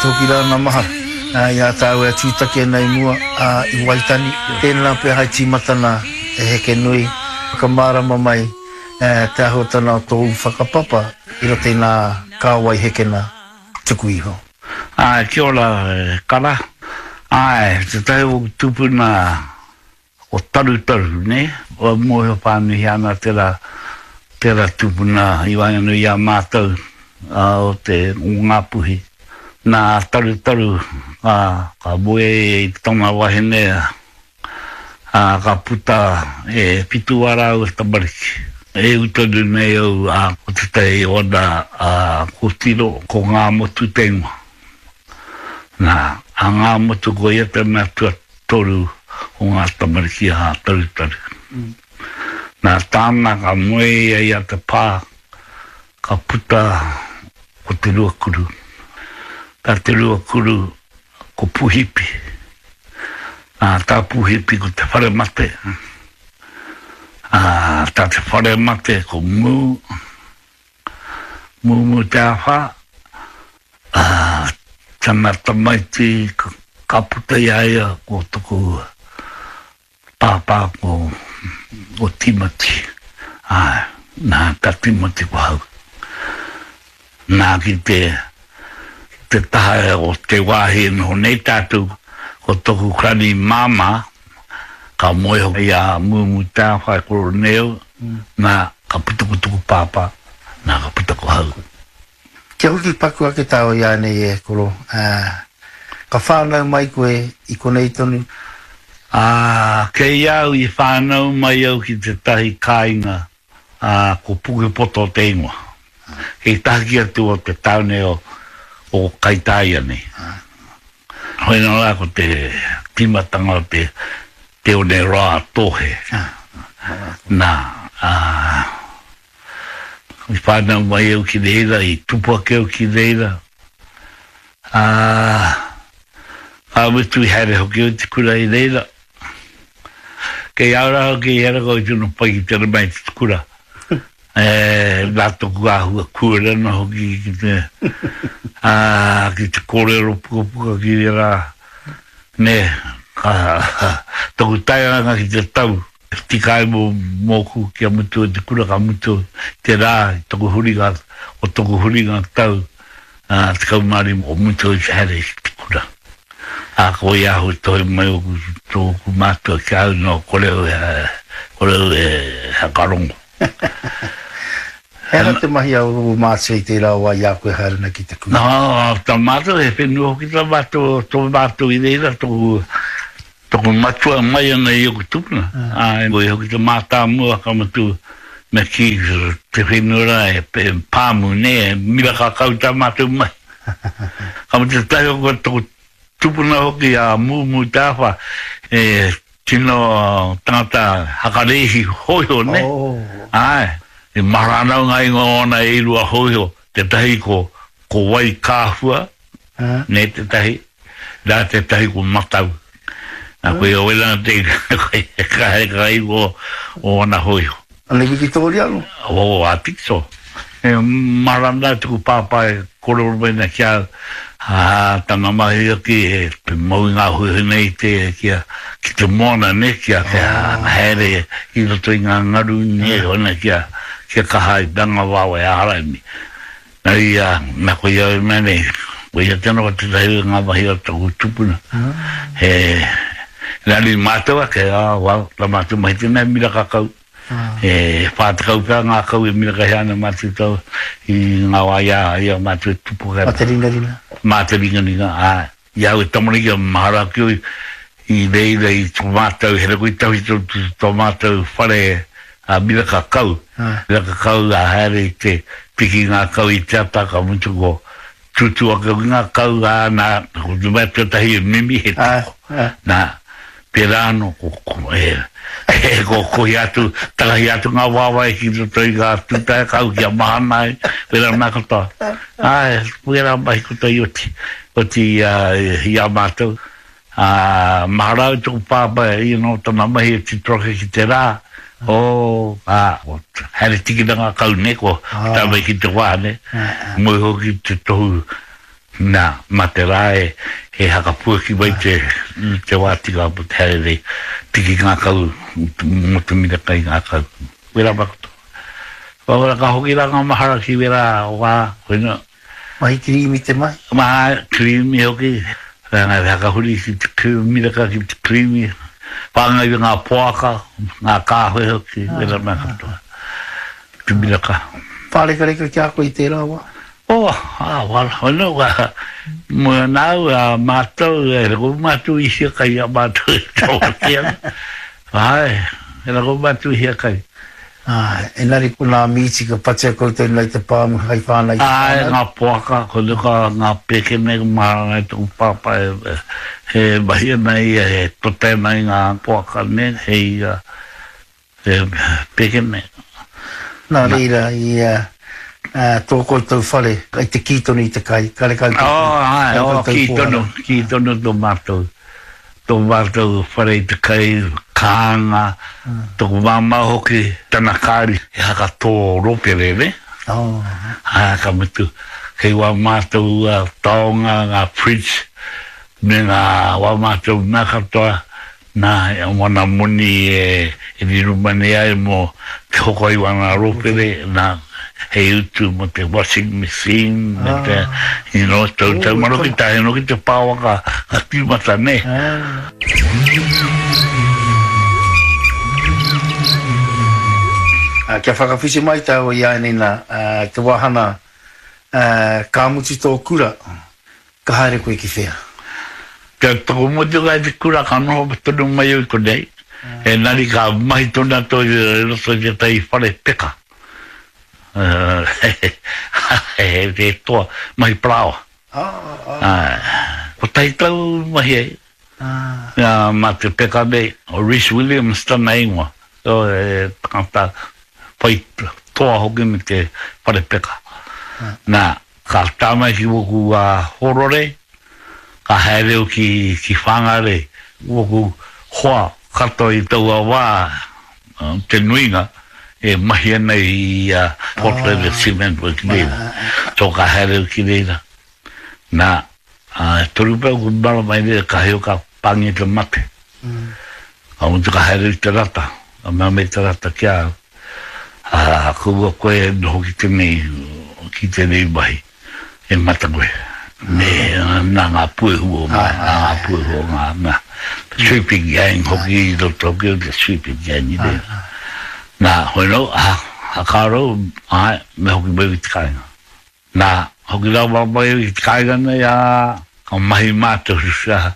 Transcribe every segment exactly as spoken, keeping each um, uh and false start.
te hoki rā nā mahara i a tāua e tūtaki ana i mua i Waitani. Tēnā pea hai tīmatana e heke nui, whakamārama mai te āhuatana o tōu whakapapa i roto i ngā kāwai hekena tuku iho. Āe, kia ora e Kara. Āe, tētahi o ōku tūpuna o Tarutaru, nē? Kua mōhio whānuihia ana tērā, tērā tūpuna i waenganui i a mātou o te, o Ngāpuhi. Nā Tarutaru ka, ka moe i tana wahine, ā, ka puta e whitu ā rāua tamariki. E ū tonu nei au, ā, ko tētahi o ana kōtiro, ko Ngāmotu te ingoa. Nā, a Ngāmotu ko ia te mea tuatoru o ngā tamariki a Tarutaru. Nā tāna ka moe ia i a Te Pā, ka puta ko Te Ruakuru. Tā Te Ruakuru ko Puhipi. Nā, tā Puhipi ko Te Wharemate. Ā, tā Te Wharemate ko Mū, Mūmū Te Āwhā. Ā, tana tamaiti ka puta i a ia ko toku pāpā ko, ko Timoti. Āe, nā, tā Timoti ko hau. Nā, ki te, te taha o te wāhi e noho nei tātou, ko toku kani māmā, ka moe hoki i a Mūmū Te Āwhai Koroneu, nā, ka puta ko toku pāpā, nā, ka puta ko hau. Kia hoki paku ake tāua i ānei e koro, ā, ka whānau mai koe i konei tonu. Ā, kei a au i whānau mai au ki tētahi kāinga, ā, ko Pukepoto te ingoa. Kei tahaki atu o te tāone o, o Kaitāia nei. Hoi nō rā ko te tīmatanga o te, te one roa a Tōhe. Nā, ā. I whānau mai au ki reira, i tupu ake au ki reira, ā, ka mutu i haere hoki au i te kura i reira. Kei a au rā hoki i hera koe tino pai ki te rema i te kura. E, nā toku āhua kūrena hoki ki te, ā, ki te kōrero pukapuka ki reira, nē, ka, toku tairanga ki te tau. Tika ai mōku kia mutu ai te kura, ka mutu te rā i toku huringa, o toku huringa tau tekau mā rima, ko mutu ai te haere ki te kura. Ā, ko ia ahu tohe mai oku, tōku mātua ki a au, nō, kore au e, kore au e hakarongo. He aha te mahi a ō mātua i tērā wā i a koe haere ana ki te kura? Nā, tā mātou, he whenua hoki tā mātou, tō mātou i reira, tōku, Toku matua mai ana i oku tupuna, ā, koia hoki te mātāmua ka mutu me kī te whenua rā e pāmu nē, e miraka kau tā mātou mahi. Ka mutu tētahi o toku tupuna hoki a Mūmū Te Āwha, he tino tangata hakarēhi hōiho nē, āe, i mahara ana au ngā ingoa o ōna e rua hōiho, tētahi ko ko Waikāhua, nē tētahi, Nā tētahi ko Matau. Nā koia wera te ka haere ka ingoa o ana hōiho. Ana Wikitōria anō? Oh, I think so. E mahara ana taku pāpā e kōrero mai ana ki a au, ā, tana mahi hoki he mau i ngā hōiho nei te, kia, ki te moana, nē, kia, kia haere i roto i ngā ngaru, nē, hona kia, kia kaha ai tanga wawe āraini. Na ia, na ko ia e mea nei, ko ia tena ko tetahi o nga mahi o toku tupuna. He rari matou ake, ah, well, ta matou mahi tena e miraka kau. E wha tekau pea nga kau e mirakahia ana matou tau i nga wa i a, i a matou e tupu ake ana. Ma te ringaringa. Ma te ringaringa, ae. I au e tamariki a mahara ake au i reira i to matou, he rako i tawhito to matou whare a miraka kau, miraka kau a haere i te piki nga kau i te ata ka mutu ko tutu ake hoki nga kau a na ko te mea tuatahi e mimi he toko na pera ano ko e ko kohi atu takahi atu nga wawae ki roto i nga tutae kau kia mahana ai pera mea katoa ae pera mahi koutou i oti. Oti i a mātou, ā, mahara au toku pāpā you know tana mahi e tito ake ki te rā, oh, ā, haere tikina ngā kau nei, ko tae mai ki te wā nei, moe hoki te tohu Nā, mā te rā e, e hakapuaki mai te, te wā tika mo te haere nei, tiki ngākau, mo te miraka i ngākau. Wera mea katoa. Wera ka hoki rā ngā mahara ki wera wā, koina. Mahi kirīmi te mahi? Mahi kirīmi hoki, rāngai hakahuri ki te miraka ki te kirīmi, whāngai i ngā poaka, ngā kāwhe hoki, wera mea katoa. Te miraka. Pārekareka ki a koe i tērā wā? Oh, ah, wala, wala, wala. Mo nāu, a mātou, e rako mātou i hiakai a mātou e tō ana. Ai, e rako mātou i hiakai. Ah, engari ko ngā mīti ka patia koutou nei te pāmu hai whānau i te Ai, whānau. ngā poaka, ko nuka ngā pēke nei mahara nei tōku pāpā e, he mahi ana ia, he tote ana i ngā poaka nei, hei uh, he pēke nei. Nā reira, i uh, uh, tō koutou whare, i te kī tonu i te kai, karekau Oh, ai, karekau oh, tau kī pōhara. tonu, kī tonu tō mātou. Tō mātou whare i te kai, kānga, tōku māmā hoki, tana kāri, he haka tō ropere, ne? Oh. Ā, ka mutu, kei wā mātou uh, taonga, ngā fridge, me ngā wā mātou mea katoa, nā, e wana moni e, e riro mani ai mō te hoko i wana ropere, nā, hei utu mo te washing machine, me te, you know, tau tau maro ki tahe no ki te pāwa ka, ka tīmata, ne? Ah. Uh, kia whakawhiti mai tāua i ānei nā, uh, te wāhana, uh, ka mutu tō kura, ka haere koe ki whea? Kia toko motu kai te kura ka noho tonu mai au i konei, engari ka mahi tonu atu i roto i tētahi whare peka. Uh, he, he toa, mahi parāoa. Ah, ah, Ai, kotahi tau mahi ai. ah. Ia, mā te peka nei, o Rhys Williams tana ingoa. So, e tangata whai toa hoki me te whare peka. Nā, ka tā mai ki woku uh, horore, ka haere au ki, ki Whangarei. Woku hoa katoa i taua wā, uh, te nuinga, e mahi ana i uh, Portland ah. Cement Works reira. So ka haere au ki reira. Nā, uh, toru pea ku marama i reira, ka heo ka pāngia te mate. Ka mutu ka haere i te rata, ka mea mai te rata ki a au. Ah, kaua koe e noho ki tēnei, ki tēnei mahi, e mata koe. Me, nā ngā puehu o ngā, nā ngā puehu o ngā, nā, sweeping gang hoki i roto hoki o te sweeping gang i reira. Nā, hoi no, ah, hakaro, ai, me hoki mai ki te kāinga. Nā, hoki rawa mai ki te kāinga nei, ā, ka mahi mātou sa,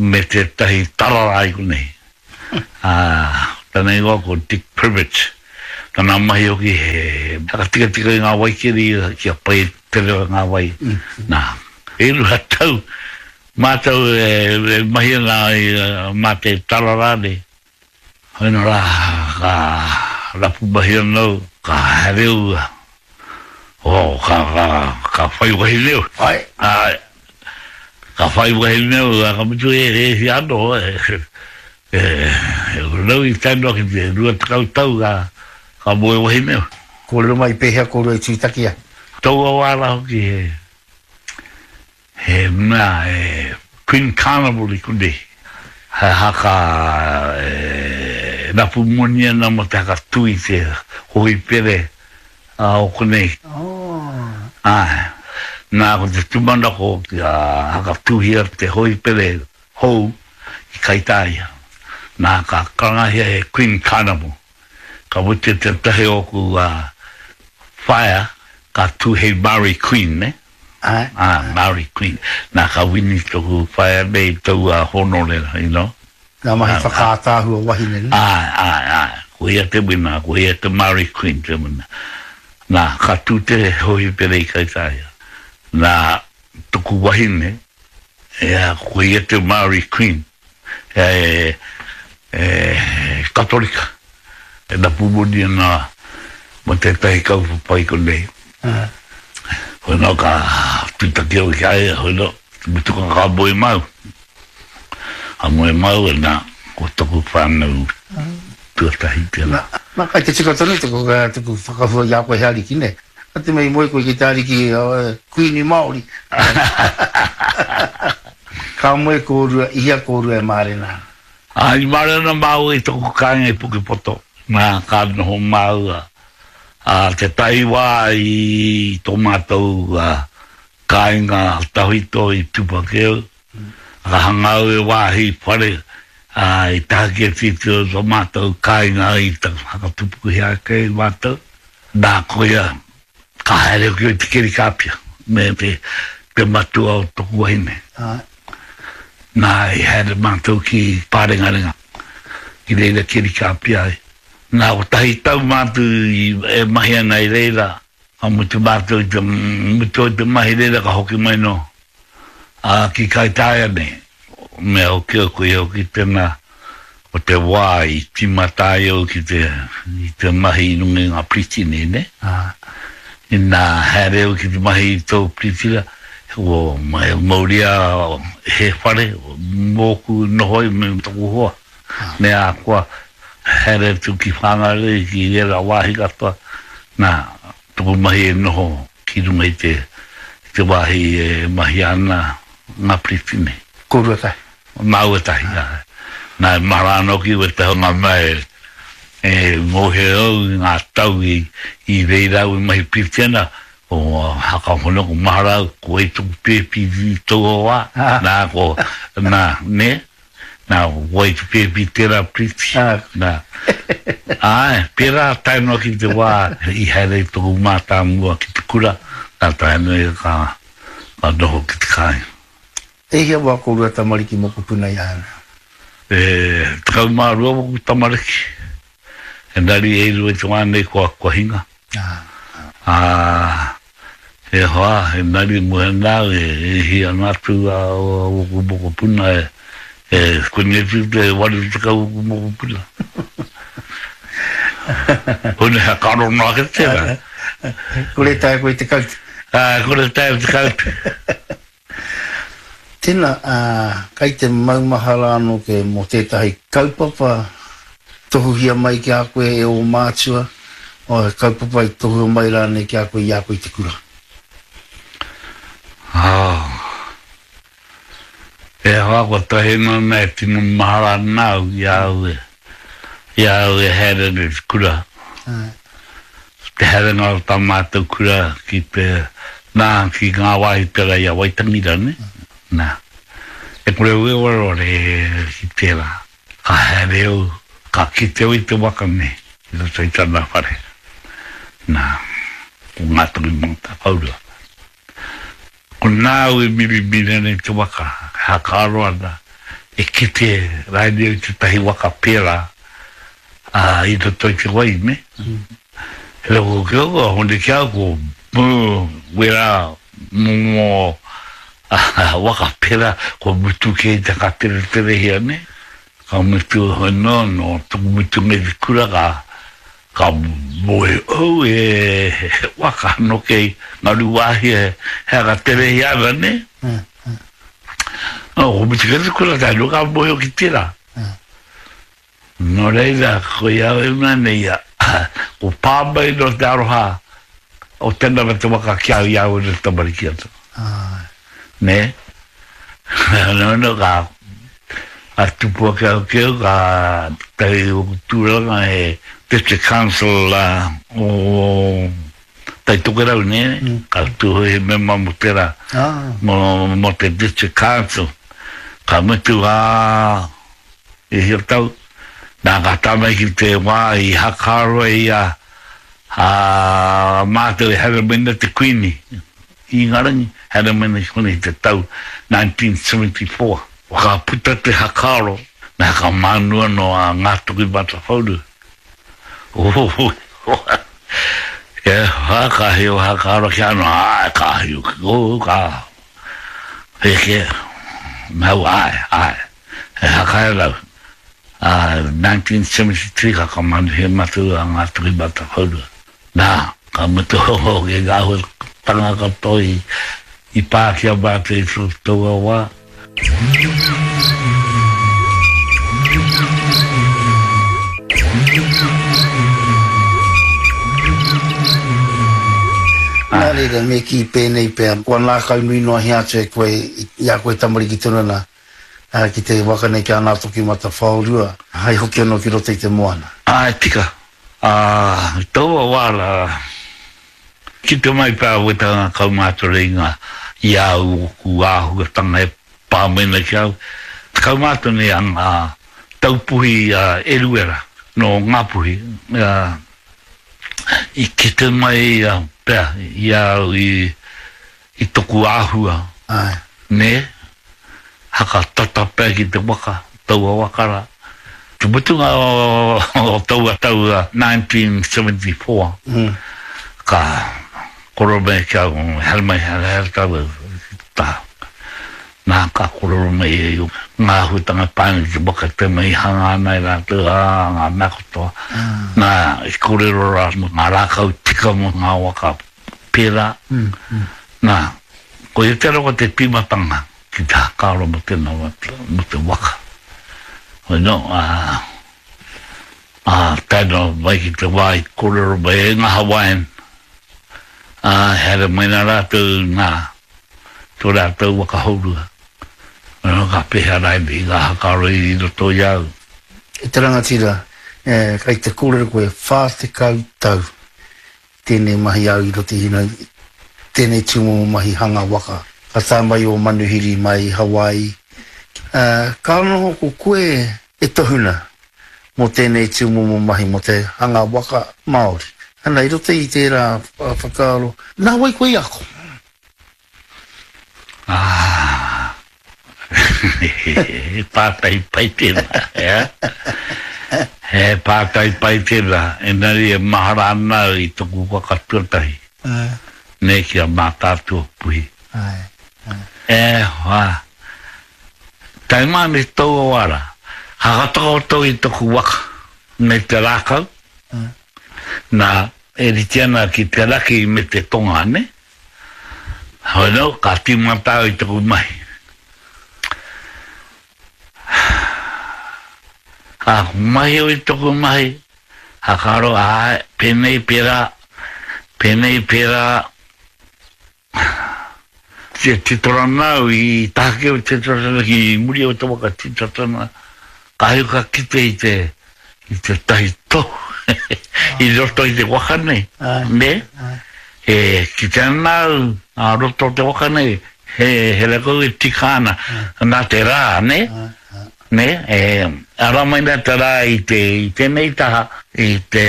me tētahi tarara i konei. Ah, tana ingoa ko Dick Privet. Tana mahi hoki he whakatikatika i ngā waikeri kia pai te reo ngā wai. Nā, e rua tau mātou e, e mahi ana i uh, mā te tarara nei. Hoina rā, ka rapu mahi anō, ka haere au, oh, ka, ka, ka whai wahine au. Ai, Ai, ka whai wahine au, ka mutu e e hi anō, e, e, e, rau i tae noa ki te rua tekau tau ka, ka moe wahine au. kōrero mai pēhea kōrua i tūtaki ai. Taua wā rā hoki he, he mea, e Queen Carnival i konei. He haka e, rapu moni ana mo te haka tui te hohipere a o konei. Oh. Ai, nā ko te tūmanako kia hakatuhia te hohipere hou i Kaitāia. Nā ka karangahia he Queen Carnival. Ka mutu te tahi oku uh, whaea, ka tū hei Māori Queen, ne? Ai. Ah, Māori Queen. Nā ka wini toku whaea nei taua honore, you know. Ngā mahi whakaātāhua wahine, ne? Ai, ai, ai. Ko ia te wina, ko ia te Māori Queen te wina. Nā, ka tū te hohipere i Kaitāia. Nā, toku wahine, ea, ko ia te Māori Queen. E, e, Katolika. E rapu moni ana mo tētahi kaupapa i konei. Ah. Hoi no ka tūtaki au ki a ia, hoi no, mutu ka ka moe mau. Ka moe mau e nā, ko toku whānau tuatahi tērā. Nā, kai te tika tonu tuku, tuku whakahua i a koe he ariki, ne? A te mea i moe koe ki te ariki Kuini Māori. Ka moe kōrua, i hea kōrua e mārena ana? Ā, i mārena māua i taku kāinga i Pukepoto, nā, ka noho māua, ā, tētahi wā i tō mātou kāinga tawhito i Tupakeu, ka hanga au e wāhi whare, ā, i tahaki atu i tō mātou kāinga i whakatupukuhia ake i mātou. Nā, koia, ka haere hoki au i te keri kāpia me te, te matua o toku wahine. Āe. Nā, i haere mātou ki Pārengarenga, ki reira keri kāpia ai. Nā, kotahi tau mātou i, e mahi ana i reira, ka mutu mātou i te, mutu ai te mahi reira ka hoki mai nō, ā, ki Kaitaia nei. Mea hoki au, koia hoki tēnā, ko te wā i tīmata ai au ki te, i te mahi i runga i ngā piriti nei, nē? Inā haere au ki te mahi i tōu piritira, kua mauria he whare mōku noho ai me taku hoa, me a koa haere atu ki Whangarei, ki ērā wāhi katoa, nā, taku mahi e noho ki runga i te, i te wāhi e mahia ana ngā piriti nei. Kōrua tahi. Māua tahi, āe. Nā, e mahara ana hoki wētahi o ngā mea e, e mōhio au i ngā tau i, i reira au e mahi piriti ana, ko Haka Hono, ko mahara au, ko wai toku pēpi i taua wā, nā, ko, nā, nē, nā, ko wai te pēpi tērā piriti, nā. Āe, pērā tae noa ki te wā i haere ai toku mātāmua ki te kura, nā, tae noa ia ka, ka noho ki te kāinga. E hia wā kōrua tamariki mokopuna i a ana? E tekau mā rua waku tamariki, engari e rua i te wā nei kua, kua hinga. Ā, he hoa, engari moe ana au e, e hia ana atu a, waku mokopuna e, e koni atu te waru tekau waku mokopuna. Hone ha ka rono ake tērā. Kore taea koe te kaute. Ā, kore taea te kaute. Tena, ā, kai te maumahara anō koe mō tētahi kaupapa tohuhia mai ki a koe e ō mātua, o he kaupapa i tohua mai rānei ki a koe i a koe i te kura? Ā, e hoa, kua tahi noa nei e tino mahara ana au i a au e, i a au e haere ana i te kura. Āe. Te haerenga o tā mātou kura ki te, nā, ki ngā wāhi pērā i a Waitangi rānei, nā, e kore au e wareware ki tērā. Ka haere au, ka kite au i te waka nei i roto i tana whare, nā, ko Ngātokimatawhaorua. Ko nāu e mirimiri ana i te waka, e hakaaro ana, e kite rānei au i tētahi waka pērā, ā, i roto i te wai, nē? He reo ki au, a hone ki au, ko wērā momo waka pērā, kua mutu kē i te whakatereterehia, nē? Ka mutu anō, nō taku mutunga i te kura, ka, ka moe au e he waka anō kei Ngaruwāhia, he aka terehia ana, nē? Nō, ko mutu kē te kura, tae noa ka mōhio ki tērā. Nō reira, ko ia au e mea nei, ko pā mai nō te aroha o tēnā me te waka ki au i a au e tamariki ana. Nē? Nō nō ka, ka tupu ake au ki au, ka tahi oku tūranga he District Council o Tai Tokerau, nē? Ka tū he mema mō tērā, mō, mō te District Council. Ka mutu, ā, E hia tau, nā ka tae mai ki te wā i hakaaro ai a, a mātou e haere mai ana te Kuini i Ingarangi, haere mai ana ki konei i te tau nineteen seventy four. Ka puta te hakaaro, me hakamānu anō a Ngātokimatawhaorua. E hoa, ka hio hakaaro ki a anō, āe, ka hio ki kōu, ka heke, mau, āe, āe. He haka rau, ā, nineteen seventy three ka whakamanuhia mātou a Ngā Tokimatawhaorua. Nā, ka mutu hoki ngā āhuatanga katoa i, i pā ki a mātou i taua wā. Nā reira, me kī pēnei pea, kua ngākau nui noa hia atu e koe i a koe tamariki tonu ana ki te waka nei ki a Ngātokimatawhaorua, hai hoki anō ki roto i te moana. Āe, tika. Ā, i taua wā rā, kite mai pea wētahi ngā kaumātua i ngā, i a au ōku āhuatanga e pā mai ana ki a au. Tekau mā tonu nei a ngā taupuhi a Eruera nō Ngāpuhi, ā, i kite mai pea i a au i, i toku āhua, Āe. nē, haka tata pea ki te waka, taua waka rā. Te mutunga o taua tau nineteen seventy four, ka koro mai ki a au, haere mai, haere, haere tāua ki te taha. Nā, ka kōrero mai ia i ngā āhuatanga e pā ana ki te waka, te mea i hanga ana e rātou, ā, ngā mea katoa. Nā, i kōrero rā mō ngā rākau tika mō ngā waka pērā. Nā, koia te rawa te tīmatanga ki te whakaaro mō tēnā mō te waka. Hoi nō, ā, ā, tae noa mai ki te wā i kōrero mai ai ngā Hawaiian, ā, haere mai nā rātou ngā Tō rātou waka hourua. Mēnā ka pēhea rānei i ngā whakaaro i roto i a au. E te rangatira, kei te kōrero koe, whā tekau tau tēnei mahi au i roto i hina, tēnei tūmomo mahi hanga waka. Ka tae mai ō manuhiri mai i Hawaii, ka noho ko koe e tohuna mō tēnei tūmomo mahi mō te hanga waka Māori. Ana, i roto i tērā whakaaro, nā wai koe i ako? Ah, he pātai pai tēnā, ea? He pātai pai tēnā, engari e mahara ana au i toku waka tuatahi, nē, ki a Mātaatua Puhi. E hoa, tae mai ana ki taua wā rā, ka whakatakoto i toku waka me te rākau, nā, e rite ana ki te raki me te tonga, nē? Hoi nō, ka tīmata au i taku mahi. Ka mahi au i taku mahi, ka karo, āe, pēnei, pērā, pēnei, pērā. Te titorana au i tahaki au te titorana ki muri o te waka titorana, kāhi ka kite i te, i tētahi tohu i roto i te waka nei, nē? E kite ana au ā roto o te waka nei, he, he rakau e tika ana, nā te rā, nē? Nē, e ara mai nā te rā i te, i tēnei taha, i te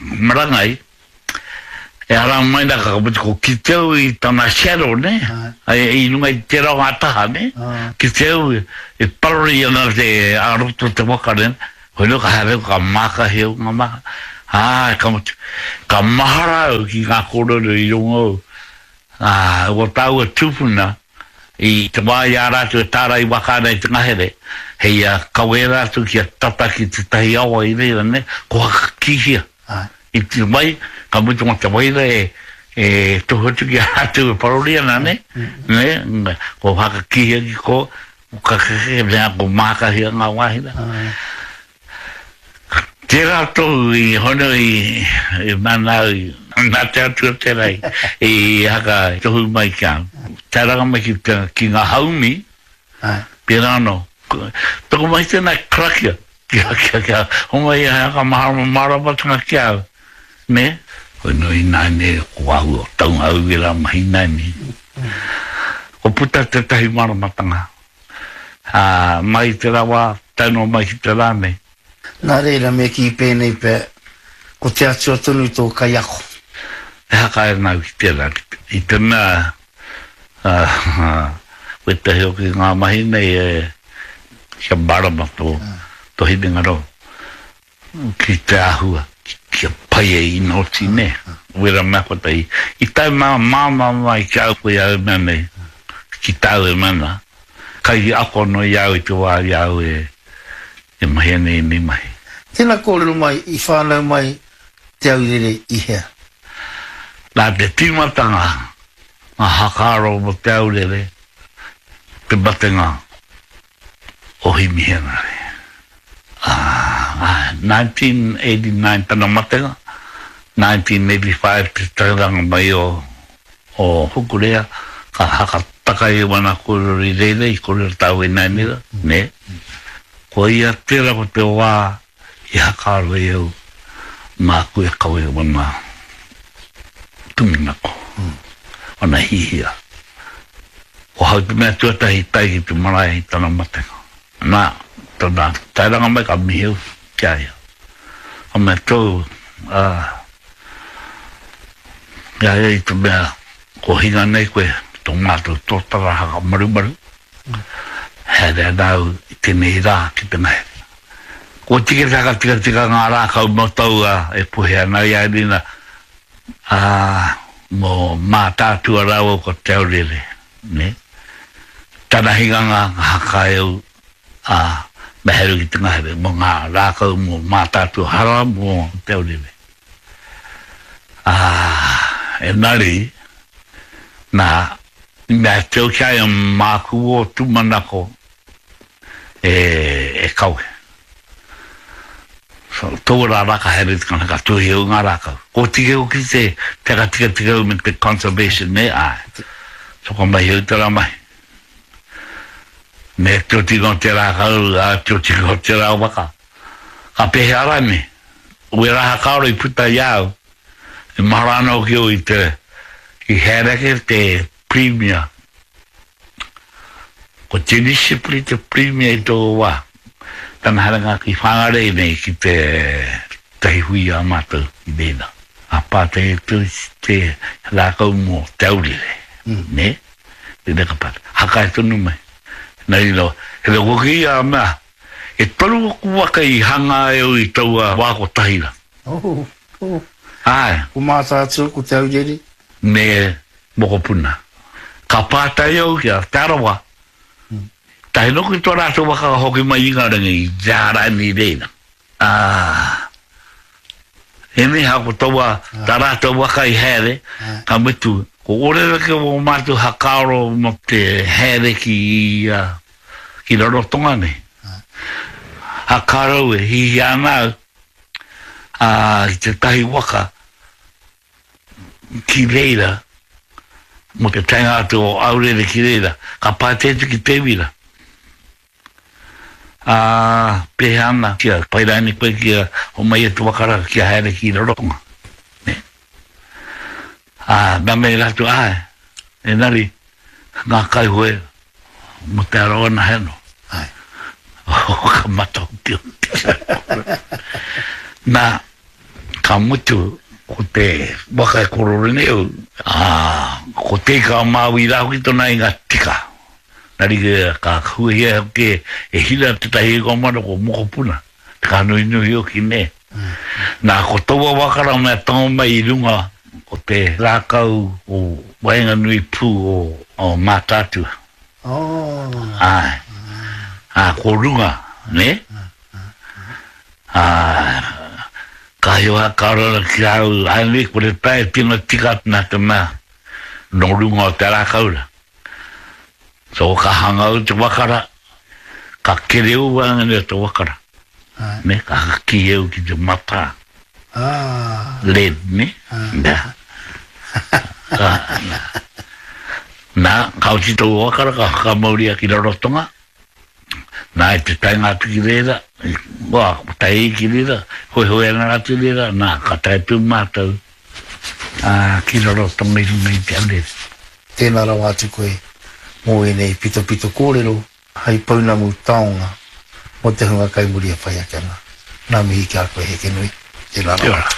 marangai, E ara mai na ka mutu ko kite au i tana shadow ne, i runga i tera o nga taha ne, kite au e parori ana te a roto te waka ne, hoi no ka haere au ka mākahi au nga maha, ā, ka mutu, ka mahara au ki nga kōrero i rongo au, ā, o tāua tupuna i te wā i a rātou e tārai waka ana i te ngahere, hei a kawē rātou kia tata ki tētahi awa i reira ne, ko Hakakihia. I te wai, ka mutu ma te waira e, e tohu atu ki a rātou e parori ana, ne? Ne? Ko whakakīhia ki ko, ko kakeke, mea ko mākahia ngā wāhi rā. Tērā tohu i hono i, i mana au, nā te Atua tērā i, i haka tohu mai ki a au. Tae ranga mai ki, te, ki ngā haumi, pērā anō. Toko mai tēnā karakia, Kia, kia, kia, homai ia he aka maharama māramatanga ki a au, nē? Koe nō ināianei, ko āhua taunga au ērā mahi ināianei. Kua puta tētahi māramatanga, ā, mai i tērā wā, tae noa mai ki te rā nei. Nā reira, me kī pēnei pea, ko te Atua tonu tō kaiako. E haka ana au ki tērā, i te mea, ā, wētahi hoki ngā mahi nei e, Kia mārama tō, tō hinengaro ki te āhua, kia pai ai ina oti, nē? Wera mea kotahi. I tae mā, māmā mai ki a au koe au e mea nei, ki tāu e mea nā. Kai ako anō i a au i te wā i a au e, e mahi ana i ēnei mahi. Tēnā kōrero mai, i whānau mai Te Aurere i hea? Nā te tīmatanga ngā hakaaro mō Te Aurere, te matenga o Himi Henare. Ā, nineteen eighty nine tana matenga, nineteen eighty five te tairanga mai o o Hukurea, ka hakataka i wana kōrero i reira, i kōrero tāu e nānera, nē. Ko ia tērā ko te wā i hakaaro ai au māku e kawe wana tūmanako, wana hihia. Ko hau te mea tuatahi i tae ki te marae i tana matenga. Nā, tana taeranga mai ka mihi au ki a ia. Ka mea tōu, ā, i a ia i te mea ko hinga nei koe tō mātou tōtara haka marumaru, haere ana au i tēnei rā ki te ngahere. Kua tika te whakatikatika ngā rākau mō taua e puhe ana i a Erina, ā, mō Mātaatua rāua ko Te Aurere, nē. Tana hinganga ka haka e au, ā, me haere ki te ngahere mō ngā rākau mō Mātaatua hara mō Te Aurere. Ā, engari, nā, i mea atu au ki a ia māku ō tūmanako e, e kawe. So, taua rā rā ka haere te kana, ka tuhi au ngā rākau. Ko tike hoki te, te whakatikatika au me te conservation, nē, āe. So ka mahi au tērā mahi. Me te otinga o te rākau, ā, te otinga o tērā waka. Ka pēhea rānei? Wērā whakaaro i puta i a au, e mahara ana hoki au i te, i haere ake te Premier. Ko Jenny Shipley te Premier i taua wā. Tana haerenga ki Whangarei nei ki te tahi hui a mātou i reira. Ka pātai atu te rākau mō Te Aurere, nē? Tēnei ka pātai. Hakae tonu mai. Nā reira, he mea hoki ia mea, e toru aku waka i hangā e au i taua wā kotahi rā. Oh, oh. Āe. Ko Mātaatua, ko Te Aurere. Me Mokopuna. Ka pātai au ki a Te Arawa, tae noa ki tō rātou waka ka hoki mai i Ingarangi i te āraini i reira. Ā, ēnei ko taua, tā rātou waka i haere, ka mutu, ko Orereke o mātou hakaaro mō te haere ki, ki Rarotonga nei. Hakaaro e hihia ana au, ā, ki tētahi waka, ki reira, mō te taenga atu o Aurere ki reira, ka pātai atu ki Te Wira, Ā, pēhea ana kia pai rānei koe kia homai e te waka rā kia haere ki Rarotonga? Nē? Ā, nā mea rātou, āe, engari, ngā kaihoe mō Te Arawa anahe anō. Āe. Ka mata hoki au ki te kōrero. Nā, Ka mutu, ko te waka e korore nei au, ā, ko Te Ika-a-Māui rā hoki tōna inga tika. Nā reira, ka huahia hoki e Hira tētahi ingoa mana ko Mokopuna, te kānohinohi hoki, nē. Nā, ko taua waka rā mea tango mai i runga o te rākau o waenganui pū o Mātaatua. Āe. Ā, ko runga, nē? Ā, ka hiwa ka rara ki a au, āe nei, kore pea e tino tika atu nā te mea nō runga o te rākau rā. So ka hanga au te waka rā, ka kereu waenganui o te waka rā, nē, ka kī au ki te matā, lead, nē, nā. Ka, nā, ka oti taua waka rā, ka whakamauria ki Rarotonga, Nā, i te taenga atu ki reira, wā, ko tae ki reira, hoehoe ana rātou i reira, nā, ka tae atu mātou, ā, ki Rarotonga i runga i te aurere. Tēnā rawa atu koe mō ēnei pitopito kōrero hei pounamu taonga mō te hunga kai muri e whai ake ana. Ngā mihi ki a koe Hekenui. Tēnā rawa atu. Kia ora.